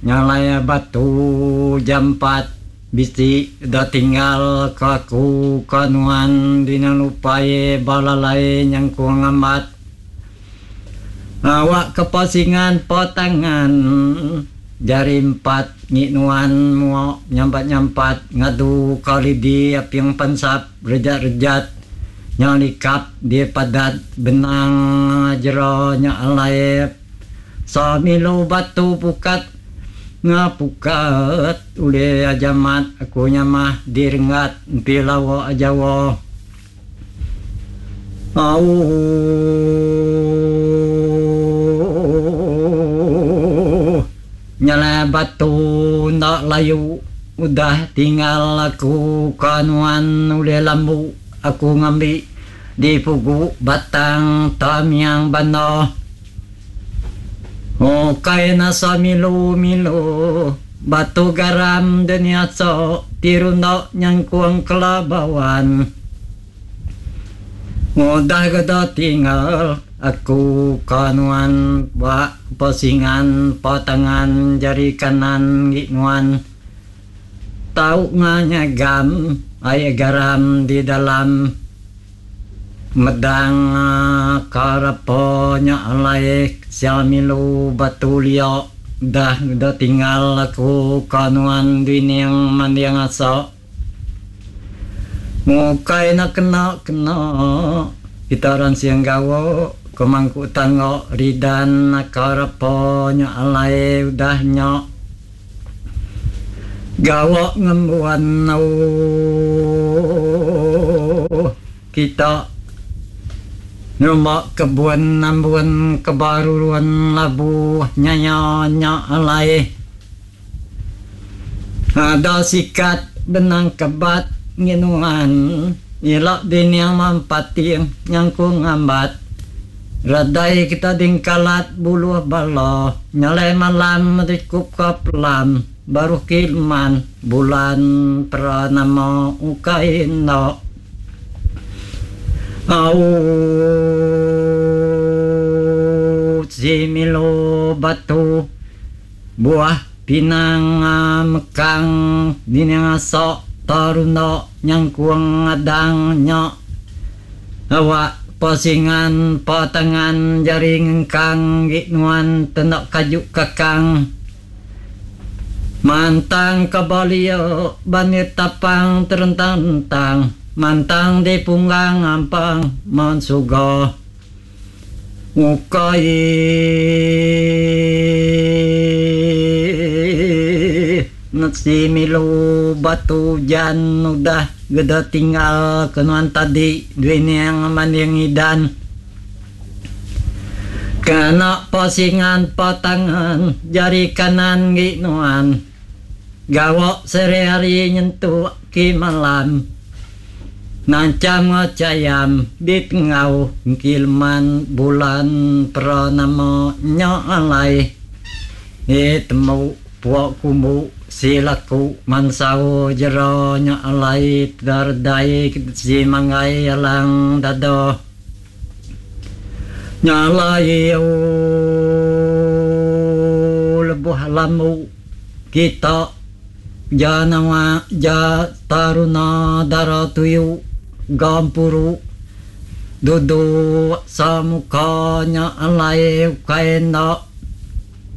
Nyalai batu jampat bisi da tinggal ke aku ke nuan dina lupai ba lalai nyangkung amat. Awak ke pasingan patangan jari empat ngi nuan muok nyampat-nyampat ngadu ka lidi aping pansap rejat-rejat nya likap di padat benang jera nya alai Samilu batu pukat ngapukat ulih ajamat aku nyamah di renggat empi lawa jawa. Auu. Nyelai batu enda layu udah tinggal aku ka nuan ulih lambu aku ngambi di pugu batang tamiang banda. Ukai nasa milu milu batu garam dunia so ti runda nyangkung kelabawan. Udah geda tinggal aku ka nuan ba pesingan patangan jari kanan ngi nuan. Tau nganyagam ai garam di dalam. Medang ka repa nya alai sia milu batu lio dah udah tinggal aku ka nuan dining manding asa. Mukai enda kena kena kita ransing gawa ke mangku tangga ridan ka repa nya alai udah nya. Gawa ngembuan ooh kita nyumba kebun ambun ke barurun labuh nyaya nya alai ada sikat benang kebat nginuan ila dining mampating nyangkung ambat. Redai kita dingkalat buluh bala nyalai malam rikup ka pelam baruh kileman bulan peranama ukai enda Auu si Milo batu buah pinang mekang dining asok tarunda nyangkung adang nya. Awak pasingan patangan jari ngengkang gi nuan tenda kaju kakang. Mantang ka balio bandir tapang terentang-entang mantang di punggang ampang mensuga ukai si milu batu ujan udah geda tinggal ke nuan tadi duining manding idan kena pasingan patangan jari kanan gi nuan gawa sehari hari nyentuk ki malam Nancham enggau chayam di tengau engki leman bulan peranama nya alai e temu pua kumbu si laku mansau jera nya alai teda redai si manggai alang dada nya alai ooh lebuh lambu kita. Ja nawa ja taruna dara tuyu gampuru duduk samuka nya alai ukai enda.